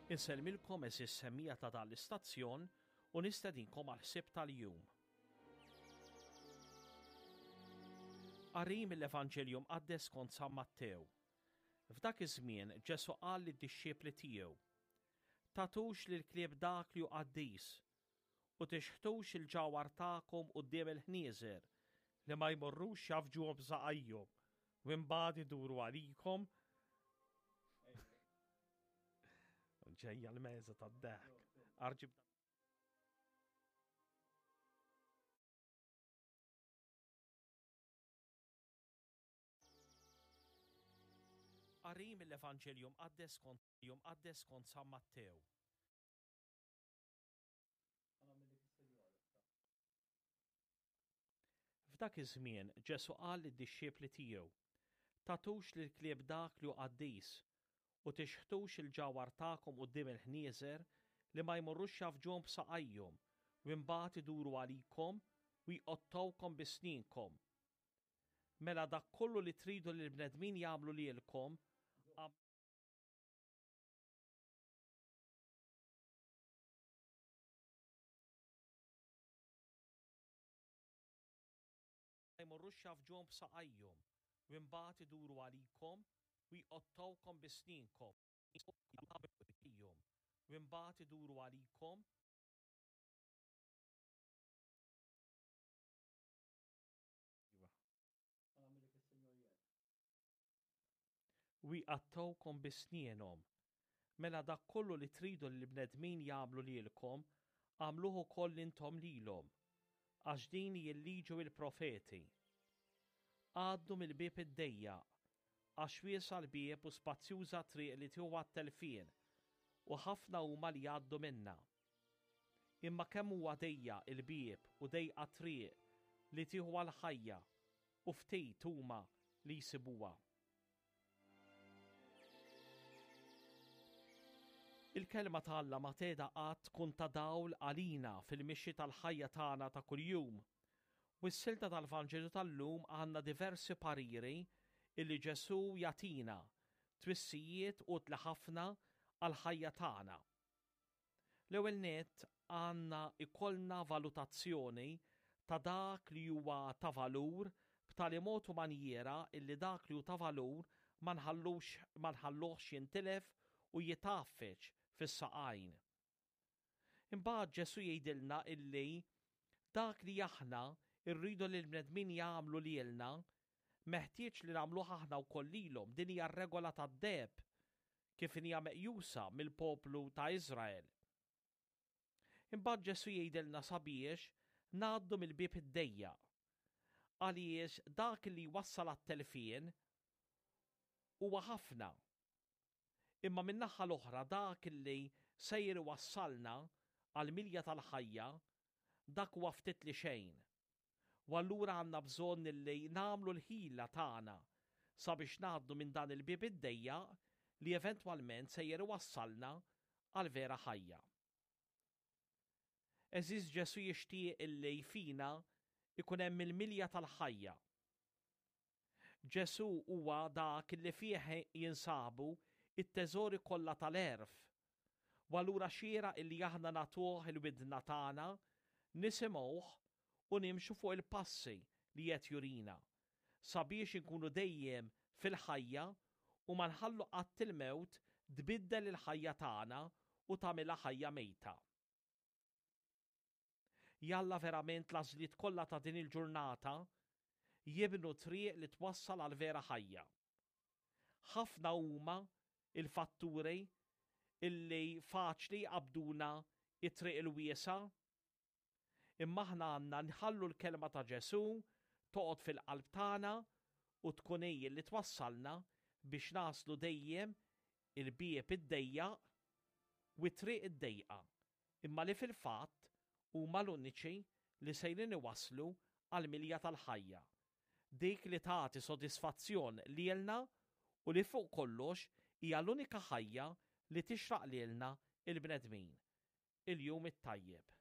Insellmilkom għeżież semmiegħa ta' dan l-istazzjon u nistedinkom għall-ħsieb tal-jum. Qari mill-Evanġelju Mqaddes skont San Mattew. F'dak iż-żmien Ġesù qal lid-dixxipli tiegħu, Tagħtux lill-klieb dak li hu qaddis, u tixħtux il-ġawhar tagħkom quddiem il-ħnieżer li ma jmorrux jgħaffġuhom b'saqajhom u imbagħad iduru għalikom Ġejja l-meża tad-dehk. Arġib Qari mill-Evanġelju Mqaddes skont Mqaddes skont San Mattew. F'dak iż-żmien Ġesù qal lid-dixxipli tiegħu, Tagħtux lill-klieb dak li hu qaddis, u tixħtux il-ġawhar tagħkom quddiem il-ħnieżer li ma jmorrux jgħaffġuhom b'saqajhom u imbagħad iduru għalikom u jqottgħukom bi snienkom. Mela dak kollu li tridu li l-bnedmin jagħmlu lilkom, jmorrux jgħaffġuhom b'saqajhom u imbagħad iduru għalikom u jqottgħukom bi snienkom u imbagħad iduru għalikom U jqattgħukom bi snienhom. Mela dak kollu li tridu li l-bnedmin jagħmlu lilkom, agħmluh ukoll intom lilhom, għax din hi l-liġi u l-profeti. Għaddu mill-bieb id-dejjaq, għax wiesa' l-bieb u spazjuża t-triq li tieħu għat-telfien, u ħafna huma li jgħaddu minnha. Imma kemm huwa dejjaq il-bieb u dejqa t-triq li tieħu għall-ħajja, u ftit huma li jsibuha. Il-Kelma ta' Alla ma tgħeda qatt tkun ta' dawl għalina fil-mixi tal-ħajja tagħna ta' kuljum. U s-silta tal-Vanġelu tal-lum għandna diversi pariri illi Ġesù jagħtina, twissijiet utli ħafna għall-ħajja tagħna. L-ewwel nett għandna jkollna valutazzjoni ta' dak li huwa ta' valur b'tali mod u manjiera illi dak li hu ta' valur ma nħallux ma nħalluhx jintilef u jitgħaffeġ fis-saqajn. Imbagħad Ġesù jgħidilna illi dak li aħna rridu li l-bnedmin jagħmlu lilna, meħtieġ li nagħmluh aħna wkoll lilhom, din hija r-regola tad-deheb kif inhija meqjusa mill-poplu ta' Iżrael. Imbagħad Ġesù jgħidilna sabiex ngħaddu mill-bieb id-dejjaq, għaliex dak li jwassal għat-telfien huwa ħafna. Imma min-naħa l-oħra dak li sejjer iwassalna għall-milja tal-ħajja, dak huwa ftit li xejn. U allura għandna bżonn li nagħmlu l-ħila tagħna sabiex ngħaddu minn dan il-bieb id-dejjaq li eventwalment sejjer iwassalna għall-vera ħajja. Għeżież Ġesù jixtieq illi fina jkun hemm il-milja tal-ħajja. Ġesù huwa dak li fih jinsabu t-teżori kollha tal-għerf, u allura xieraq illi aħna nagħtuh il-widna tagħna, nisimgħuh u nimxu fuq il-passi li qed jurina, sabiex inkunu dejjem fil-ħajja u ma nħallu qatt il-mewt tbiddel il-ħajja tagħna u tagħmilha ħajja mejta. Jalla verament l-għażliet kollha ta' din il-ġurnata jibnu triq li twassal għall-vera ħajja. Ħafna huma l-fatturi illi faċli jqabbduna t-triq il-wiesgħa, imma aħna għandna nħallu l-kelma ta' Ġesù toqgħod fil-qalb tagħna u tkun hi li twassalna biex naslu dejjem il-bieb id-dejjaq u t-triq id-dejqa imma li fil-fatt huma l-uniċi li sejrin iwasslu għall-milja tal-ħajja, dik li tagħti sodisfazzjon lilna u li fuq kollox hija l-unika ħajja li tixraq lilna l-bnedmin. Il-jum it-tajjeb.